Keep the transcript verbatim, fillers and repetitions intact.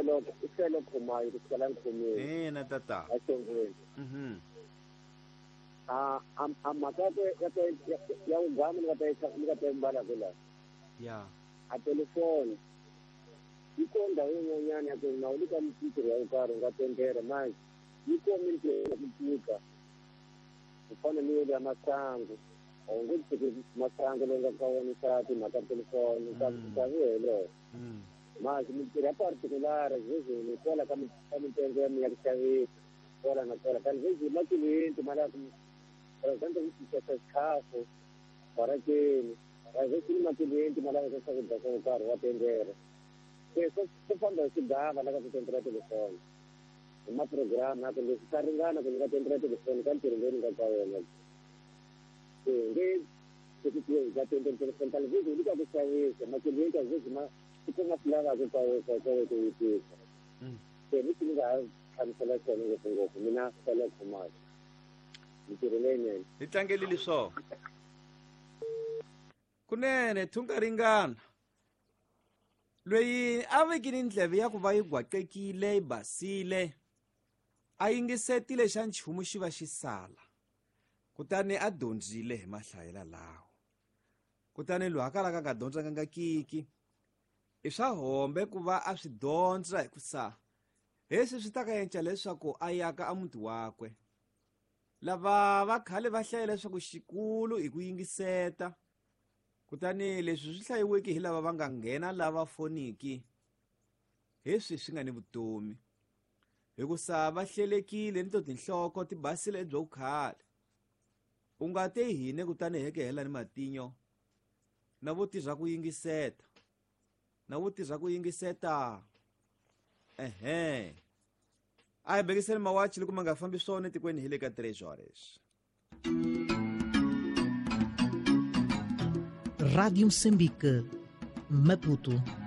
hlelo i hlelo khumayo ku tlhela nkhumeni ina tata axongweni mhm a a mhaka ya ya ugama ni nga ta ni nga ta mbala kula ya a telefoni yi ko ndhawu yin'wanyana ya ku na u le ka mintirho ya karhi u nga tendera manje yi ko mintirho ya ku tika ku fana ni ya masangu a wu nge tshiki masangu leyi nga ka wona xa timhaka ta telefoni ta ta vuhelo manje mintirho ya particular sweswi kwala ka ka mitengo ya mina ya ku xavisa kwala na kwala kandi sweswi makiliyenti ma lava ku for example xixesa xikhafu barakeni sweswi ni makiliyenti ma laveka swakudya swo karhi wa tendera se swi famba hi xigava la ka ku tendera telefoni hi ma-program ya ku leswi swa ringana ku ni nga tendera telefoni ka ntirho lowu ni nga ka wona se nge ka tendera telefoni tani sweswi ni ka ku xavisa makiliyenti a sweswi ma swi kuma swi lavaka ka ka ka ku vutisa se ni ni nga ha hlamusela xona ngopfungopfu mina sele khumayo mintirho leyinene hi tlangelile swona kunene thunga ringana loyi a vekile ndleve ya ku va yi gwaqekile yi basile a yingisetile xa nchumu xi va xi sala kutani a dyondzile hi mahlayela lawo kutani loyi a kalaka a nga dyondzanga kiki i swa hombe ku va a swi dyondza hikusa leswi swi ta ka endla leswaku a yaka a muti wakwe lava va khale va hlaya leswaku xikulu i ku yingiseta kutani leswi swi hlayiweke hi lava va nga nghena lava foniki leswi swi nga ni vutomi hikusa va hlelekile ni to tinhloko ti basile byo khale u nga te hine kutani heke hela ni matinyo na vo tirha ku yingiseta na vo tirha ku yingiseta ehe a hi bekiseni mawachi loko ma nga fambi swona etikweni hi le ka tres horas. Rádio Moçambique, Maputo.